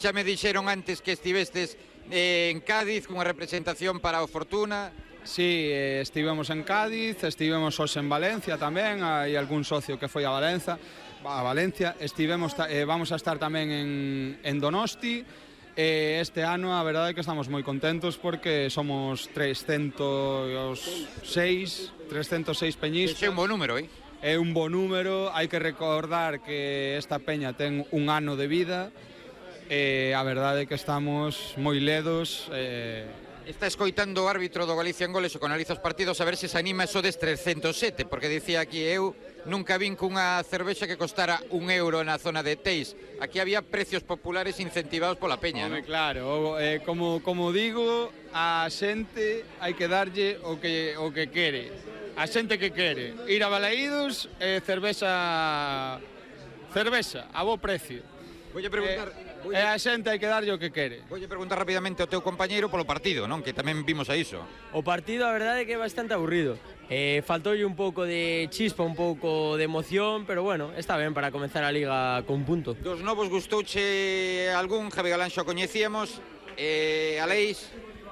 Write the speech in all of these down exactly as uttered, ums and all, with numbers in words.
Xa me dixeron antes que estivestes eh, en Cádiz cunha representación para o Fortuna. Sí, eh, estivemos en Cádiz, estivemos hoxe en Valencia tamén, hai algún socio que foi a Valencia, a Valencia, estivemos, eh, vamos a estar tamén en, en Donosti. Eh, este ano a verdade é que estamos moi contentos porque somos trescentos seis peñistas. É un bo número, eh? É un bo número, hai que recordar que esta peña ten un ano de vida. E a verdade é que estamos moi ledos. eh... Está escoitando o árbitro do Galicia en Goles, o que analiza os partidos, a ver se se anima eso des trescentos sete, porque dicía aquí, eu nunca vin cunha cervexa que costara un euro na zona de Teis. Aquí había precios populares incentivados pola peña, Home, non? claro, eh, como, como digo, a xente hai que darlle o que, o que quere. A xente que quere ir a Balaídos, eh, cervexa, cervexa, a bo precio. Voulle preguntar... Eh, E a xente hai que darlle o que quere. Voulle preguntar rapidamente ao teu compañeiro polo partido, non? Que tamén vimos a iso. O partido, a verdade é que é bastante aburrido. Eh, faltoulle un pouco de chispa, un pouco de emoción, pero bueno, está ben para comenzar a Liga con punto. Dos novos gustouche algún, Javi Galán xa o coñecíamos, eh, Aleix...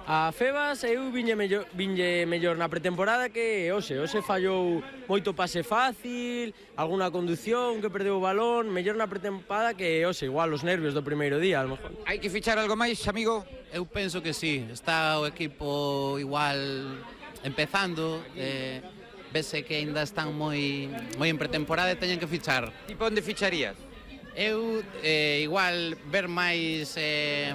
A Febas eu viñe mellor, viñe mellor na pretemporada que hoxe. Hoxe fallou moito pase fácil, alguna condución que perdeu o balón, mellor na pretemporada que hoxe, igual os nervios do primeiro día, a lo mejor. Hai que fichar algo máis, amigo? Eu penso que sí, está o equipo igual empezando, eh, vese que ainda están moi moi en pretemporada e teñen que fichar. Tipo onde ficharías? Eu eh, igual ver máis eh,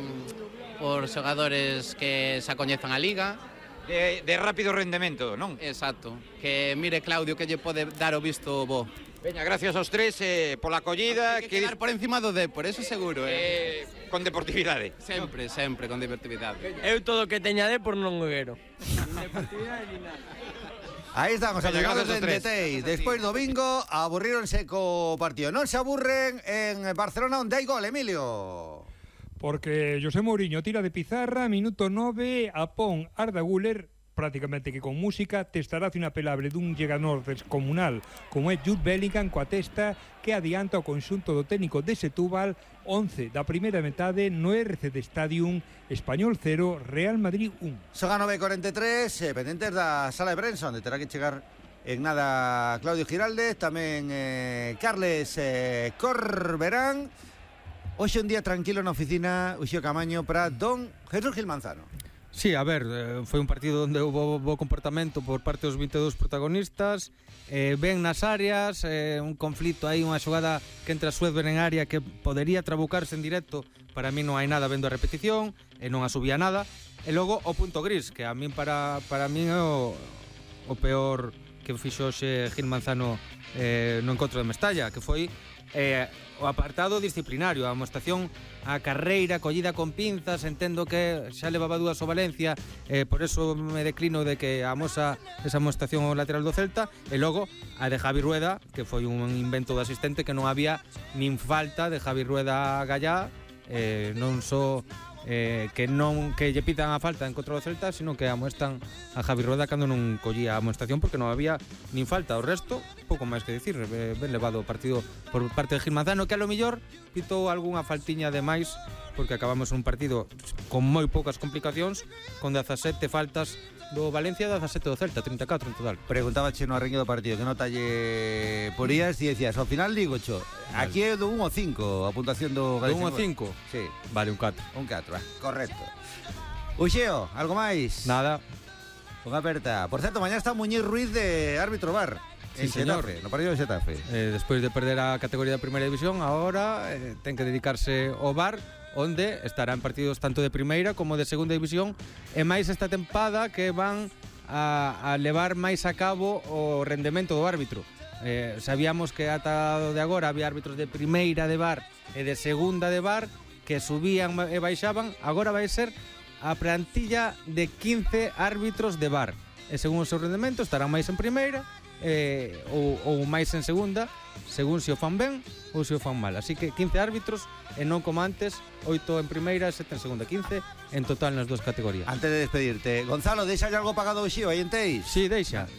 por xogadores que xa coñezan a Liga. De, de rápido rendemento, non? Exacto, que mire Claudio que lle pode dar o visto bo. Veña, gracias aos tres eh, pola acollida. Hai que quedar por encima do D, por eso seguro, eh. eh con deportividade. Sempre, sempre con deportividade. Eu todo o que teña de por non o quero. Nin deportividade nin nada. Aí estamos, achegados en Teis. Despois do bingo, aburríronse co partido. Non se aburren en Barcelona onde hai gol, Emilio. Porque José Mourinho tira de pizarra, minuto nove, a pon Arda Güler, prácticamente que con música, testarazo inapelable dun llegador descomunal como é Jude Bellingham coa testa que adianta o conxunto do técnico de Setúbal. Once da primeira metade no R C de Stadium, Español cero, Real Madrid un. Son a nove e cuarenta e tres, eh, pendentes da sala de prensa, onde terá que chegar en nada Claudio Giraldez, tamén eh, Carles eh, Corberán. Hoxe un día tranquilo na oficina, Uxío Camaño, para don Jesús Gil Manzano. Sí, a ver, foi un partido onde houve bo comportamento por parte dos vinte e dous protagonistas, eh, ben nas áreas, eh, un conflito aí, unha xogada que entra Suedber en área que podería trabucarse en directo, para mí non hai nada vendo a repetición, e non asubía nada, e logo o punto gris, que a min para, para min é o, o peor que fixo hoxe Gil Manzano eh, no encontro de Mestalla, que foi eh, o apartado disciplinario, a amostación a carreira collida con pinzas. Entendo que xa levaba dúas o Valencia, eh, por eso me declino de que amosa esa amostación ao lateral do Celta, e logo a de Javi Rueda, que foi un invento do asistente, que non había nin falta de Javi Rueda a Gallá, eh, non só eh, que non que lle pitan a falta en contra do Celta, sino que amoestan a Javi Rueda cando non collía a amoestación, porque non había nin falta. O resto, pouco máis que dicir, eh, ben levado o partido por parte de Gil Manzano, que a lo millor pitou algunha faltiña de máis, porque acabamos un partido con moi poucas complicacións, con dezasete faltas do Valencia, dezasete do Celta, trinta e catro en total. Preguntaba che no arreño do partido que nota lle porías e decías, ao final digo cho, aquí é do un ao cinco a puntuación do Do Galicia. un ao cinco? Sí, Vale, un catro. un catro, correcto. Uxeo, algo máis? Nada. Unha aperta. Por certo, mañá está Muñiz Ruiz de árbitro bar. Sí, en señor. Xetafe, no partido de Xetafe. Eh, despois de perder a categoría de primeira división, agora eh, ten que dedicarse ao bar, onde estará en partidos tanto de primeira como de segunda división, e máis esta tempada que van a, a levar máis a cabo o rendemento do árbitro. Eh, sabíamos que ata de agora había árbitros de primeira de bar e de segunda de bar que subían e baixaban. Agora vai ser a plantilla de quince árbitros de bar, e según o seu rendemento estarán máis en primeira eh, ou, ou máis en segunda, según se o fan ben ou se o fan mal. Así que quince árbitros, e non como antes, oito en primeira e sete en segunda, quince en total nas dúas categorías. Antes de despedirte, Gonzalo, deixa algo pagado o Xío aí en Teis? Sí, deixa.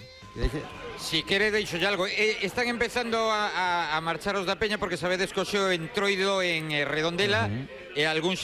Si quere deixo ya algo. eh, Están empezando a, a, a marchar os da Peña, porque sabedes que o xeo entroido en eh, Redondela, uh -huh. E algún xa